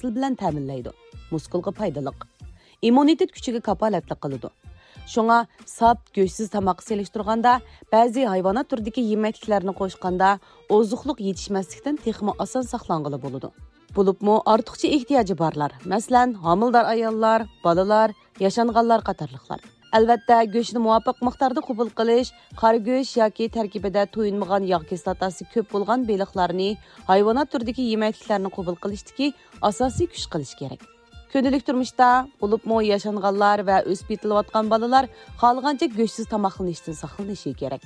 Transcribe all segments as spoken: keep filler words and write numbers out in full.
ئاستىل بىلەن تەمىنلەيدۇ. مۇسكۇلغا پايدىلىق. ئىممۇنىتېت كۈچىگە كاپالەتلىك قىلىدۇ. شۇڭا ساپ، گۆشسىز تاماققا سېلىشتۇرغاندا، بەزى ھايۋانات تۈرىدىكى يېمەكلىكلەرنى قوشقاندا، ئوزۇقلۇق يېتىشمەسلىكتىن تېخىمۇ ئاسان ساقلانغىلى بولىدۇ. بولۇپمۇ ئارتۇقچە ئېھتىياجى بارلار، مەسىلەن، ھامىلىدار ئاياللار، بالىلار، ياشانغانلار قاتارلىقلار. ئەلۋەتتە، گۆشنى مۇۋاپىق مىقداردا قوبۇل قىلىش، قارا گۆش ياكى تەركىبىدە تويۇنمىغان ياغ كىسلاتاسى كۆپ بولغان بېلىقلارنى، ھايۋانات تۈرىدىكى يېمەكلىكلەرنى قوبۇل قىلىشتىكى ئاساسىي كۈچ قىلىش كېرەك. كۈندىلىك تۇرمۇشتا، بولۇپمۇ ياشانغانلار ۋە ئۆسۈپ يېتىلىۋاتقان بالىلار خالىغانچە گۆشسىز تاماقلىنىشتىن ساقلىنىشى كېرەك.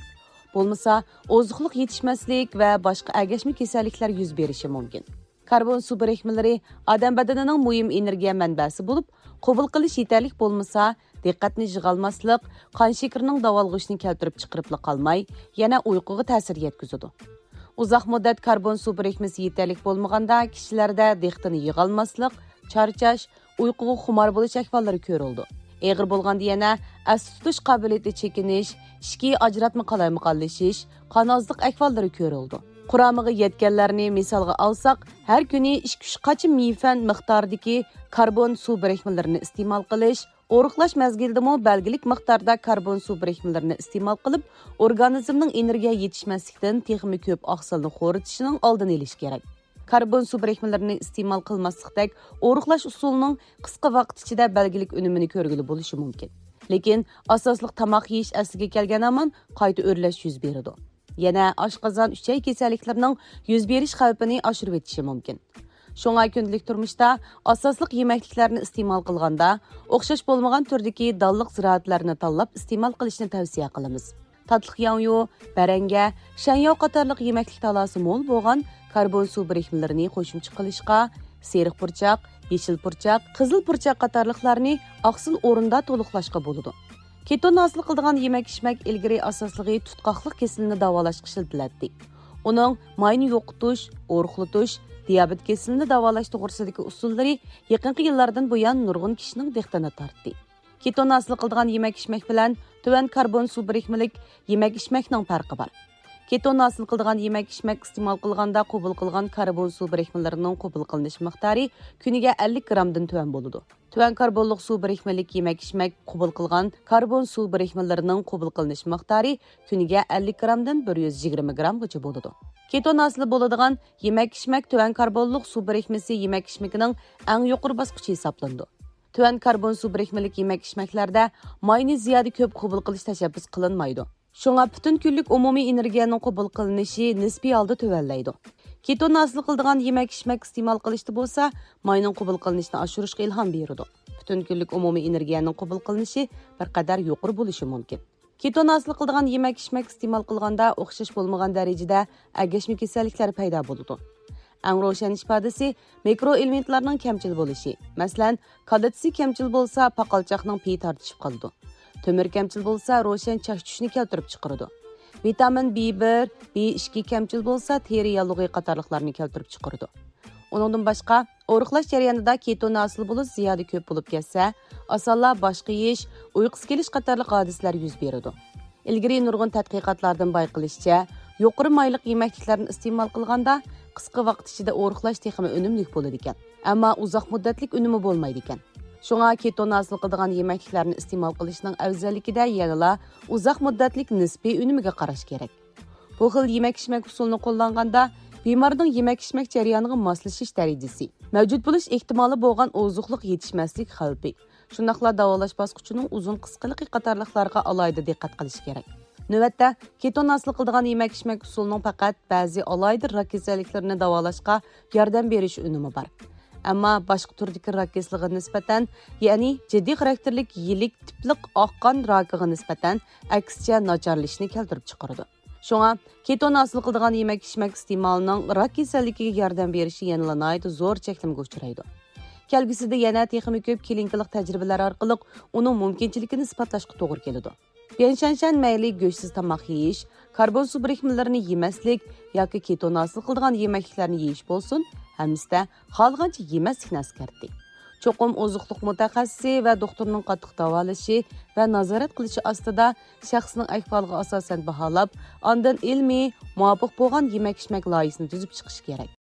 بولمىسا، ئوزۇقلۇق يېتىشمەسلىك ۋە باشقا ئەگەشمە كېسەللىكلەر يۈز بېرىشى مۇمكىن. كاربون سۇ بىرىكمىلىرى ئادەم بەدىنىنىڭ مۇھىم ئېنېرگىيە مەنبەسى بولۇپ، قوبۇل قىلىش يېتەرلىك بولمىسا، دىققەتنى يىغالماسلىق، قان شېكىرىنىڭ داۋالغۇشىنى كەلتۈرۈپ چىقىرىپلا قالماي، يەنە ئۇيقۇغا تەسىر يەتكۈزىدۇ. ئۇزاق مۇددەت كاربون سۇ بىرىكمىسى يېتەرلىك بولمىغاندا، كىشىلەردە دىققىتىنى يىغالماسلىق، چارچاش، ئۇيقۇغا خۇمار بولۇش ئەھۋاللىرى كۆرۈلىدۇ. ئېغىر بولغاندا يەنە ئەستە تۇتۇش قابىلىيىتى چېكىنىش، ئىچكى ئاجراتما قالايمىقانلىشىش، قان ئازلىق ئەھۋاللىرى كۆرۈلىدۇ. قۇرامىغا يەتكەنلەرنى مىسالغا ئالساق، ھەر كۈنى ئىككى ئۈچ قاچا مىفەن مىقدارىدىكى كاربون سۇ بىرىكمىلىرىنى ئىستېمال قىلىش، ئورۇقلاش مەزگىلىدىمۇ بەلگىلىك مىقداردا كاربون سۇ بىرىكمىلىرىنى ئىستېمال قىلىپ، ئورگانىزمنىڭ ئېنېرگىيە يېتىشمەسلىكتىن تېخىمۇ كۆپ ئاقسىلنى خورىتىشىنىڭ ئالدىنى ئېلىش كېرەك. كاربون سۇ بىرىكمىلىرىنى ئىستېمال قىلماسلىقتەك ئورۇقلاش ئۇسۇلىنىڭ قىسقا ۋاقىت ئىچىدە بەلگىلىك ئۈنۈمىنى كۆرگىلى بولۇشى مۇمكىن. لېكىن ئاساسلىق تاماق يېيىش ئەسلىگە كەلگەن ھامان قايتا ئۆرلەش يۈز بېرىدۇ. يەنە ئاشقازان، ئۈچەي كېسەللىكلىرىنىڭ يۈز بېرىش خەۋپىنى ئاشۇرۇۋېتىشى مۇمكىن. شۇڭا كۈندىلىك تۇرمۇشتا ئاساسلىق يېمەكلىكلەرنى ئىستېمال قىلغاندا، ئوخشاش بولمىغان تۈردىكى دانلىق زىرائەتلەرنى تاللاپ ئىستېمال قىلىشنى تەۋسىيە قىلىمىز. تاتلىق ياڭيۇ، بەرەڭگە، شەنياۋ قاتارلىق يېمەكلىك تالاسى مول بولغان كاربون سۇ بىرىكمىلىرىنى قوشۇمچە قىلىشقا، سېرىق پۇرچاق، يېشىل پۇرچاق، قىزىل پۇرچاق قاتارلىقلارنى ئاقسىل ئورۇندا تولۇقلاشقا بولىدۇ. كېتون ھاسىل قىلىدىغان يېمەك-ئىچمەك ئىلگىرى ئاساسلىقى تۇتقاقلىق كېسىلىنى داۋالاشقا ئىشلىتىلەتتى. ئۇنىڭ ماينى يوقىتىش، ئورۇقلىتىش، دىيابېت كېسىلىنى داۋالاش توغرىسىدىكى ئۇسۇللىرى يېقىنقى يىللاردىن بۇيان نۇرغۇن كىشىنىڭ دىققىتىنى تارتتى. كېتون ھاسىل قىلىدىغان يېمەك-ئىچمەك بىلەن تۆۋەن كاربون سۇ بىرىكمىلىك يېمەك-ئىچمەكنىڭ پەرقى بار. كېتون ھاسىل قىلىدىغان يېمەك-ئىچمەك ئىستېمال قىلغاندا قوبۇل قىلغان كاربون سۇ بىرىكمىلىرىنىڭ قوبۇل قىلىنىش مىقدارى كۈنىگە ئەللىك گىرامدىن تۆۋەن بولىدۇ. تۆۋەن كاربونلۇق سۇ بىرىكمىلىك يېمەك-ئىچمەك قوبۇل قىلغان كاربون سۇ بىرىكمىلىرىنىڭ قوبۇل قىلىنىش مىقدارى كۈنىگە ئەللىك گىرامدىن بىر يۈز يىگىرمە گىرامغىچە بولىدۇ. كېتون ھاسىل بولىدىغان يېمەك-ئىچمەك تۆۋەن كاربونلۇق سۇ بىرىكمىسى يېمەك-ئىچمىكىنىڭ ئەڭ يۇقىرى باسقۇچى ھېسابلىنىدۇ. تۆۋەن كاربون سۇ بىرىكمىلىك يېمەك-ئىچمەكلەردە ماينى زىيادە كۆپ قوبۇل قىلىش تەشەببۇس قىلىنمايدۇ. شۇڭا پۈتۈن كۈنلۈك ئومۇمىي ئېنېرگىيەنىڭ قوبۇل قىلىنىشى نىسپىي ھالدا تۆۋەنلەيدۇ. كېتون ھاسىل قىلىدىغان يېمەك-ئىچمەك ئىستېمال قىلىشتا بولسا، ماينىڭ قوبۇل قىلىنىشىنى ئاشۇرۇشقا ئىلھام بېرىدۇ. پۈتۈن كۈنلۈك ئومۇمىي ئېنېرگىيەنىڭ قوبۇل قىلىنىشى بىر قەدەر يۇقىرى بولۇشى مۇمكىن. كېتون ھاسىل قىلىدىغان يېمەك-ئىچمەك ئىستېمال قىلغاندا ئوخشاش بولمىغان دەرىجىدە ئەگەشمە كېسەللىكلەر پەيدا بولىدۇ. ئەڭ روشەن ئىپادىسى مىكرو ئېلېمېنتلارنىڭ كەمچىل بولۇشى. مەسىلەن، كالتسىي كەمچىل بولسا، پاقالچاقنىڭ پېيى تارتىشىپ قالىدۇ. تۆمۈر كەمچىل بولسا، روشەن چاچ چۈشۈشنى كەلتۈرۈپ چىقىرىدۇ. ۋىتامىن بى بىر، بى ئىككى كەمچىل بولسا، تېرە ياللۇغى قاتارلىقلارنى كەلتۈرۈپ چىقىرىدۇ. ئۇنىڭدىن باشقا، ئورۇقلاش جەريانىدا كېتون ھاسىل بولۇش زىيادە كۆپ بولۇپ كەتسە، ئاسانلا باش قېيىش، ئۇيقۇسى كېلىش قاتارلىق ھادىسىلەر يۈز بېرىدۇ. ئىلگىرى نۇرغۇن تەتقىقاتلاردىن بايقىلىشىچە، يۇقىرى مايلىق يېمەكلىكلەرنى ئىستېمال قىلغاندا، قىسقا ۋاقىت ئىچىدە ئورۇقلاش تېخىمۇ ئۈنۈملۈك بولىدىكەن. ئەمما ئۇزاق مۇددەتلىك ئۈنۈمى بولمايدىكەن. شۇڭا كېتون ھاسىل قىلىدىغان يېمەكلىكلەرنى ئىستېمال قىلىشنىڭ ئەۋزەللىكىدە يەنىلا ئۇزاق مۇددەتلىك نىسپىي ئۈنۈمىگە قاراش كېرەك. بۇ خىل يېمەك-ئىچمەك ئۇسۇلىنى قوللانغاندا، بىمارنىڭ يېمەك-ئىچمەك جەريانىغا ماسلىشىش دەرىجىسى، مەۋجۇت بولۇش ئېھتىمالى بولغان ئوزۇقلۇق يېتىشمەسلىك خەۋپى، شۇنداقلا داۋالاش باسقۇچىنىڭ ئۇزۇن قىسقىلىقى قاتارلىقلارغا ئالاھىدە دىققەت قىلىش كېرەك. نۆۋەتتە، كېتون ھاسىل قىلىدىغان يېمەك-ئىچمەك ئۇسۇلىنىڭ پەقەت بەزى ئالاھىدە راك كېسەللىكلىرىنى داۋالاشقا ياردەم بېرىش ئۈنۈمى بار. ئەمما باشقا تۈردىكى راك كېسىلىگە نىسبەتەن، يەنى جىددىي خاراكتېرلىك يىلىك تىپلىق ئاق قان راكىغا نىسبەتەن ئەكسىچە ناچارلىشىشنى كەلتۈرۈپ چىقىرىدۇ. شۇڭا كېتون ھاسىل قىلىدىغان يېمەك-ئىچمەك ئىستېمالىنىڭ راك كېسەللىكىگە ياردەم بېرىشى يەنىلا ناھايىتى زور چەكلىمىگە ئۇچرايدۇ. كەلگۈسىدە يەنە تېخىمۇ كۆپ كلىنىكىلىق تەجرىبىلەر ئارقىلىق ئۇنىڭ مۇمكىنچىلىكىنى ئىسپاتلاشقا توغرا كېلىدۇ. بيەن شەنشەن مەيلى گۆشسىز تاماق يېيىش، كاربون سۇ بىرىكمىلىرىنى يېمەسلىك ياكى كېتون ھاسىل قىلىدىغان يېمەكلىكلەرنى يېيىش بولسۇن، ھەممىسىدە خالىغانچە يېمەسلىكنى ئەسكەرتتى. چوقۇم ئوزۇقلۇق مۇتەخەسسىسى ۋە دوختۇرنىڭ قاتتىق داۋالىشى ۋە نازارەت قىلىشى ئاستىدا شەخسنىڭ ئەھۋالىغا ئاساسەن باھالاپ، ئاندىن ئىلمىي، مۇۋاپىق بولغان يېمەك-ئىچمەك لايىھىسىنى تۈزۈپ چىقىش كېرەك.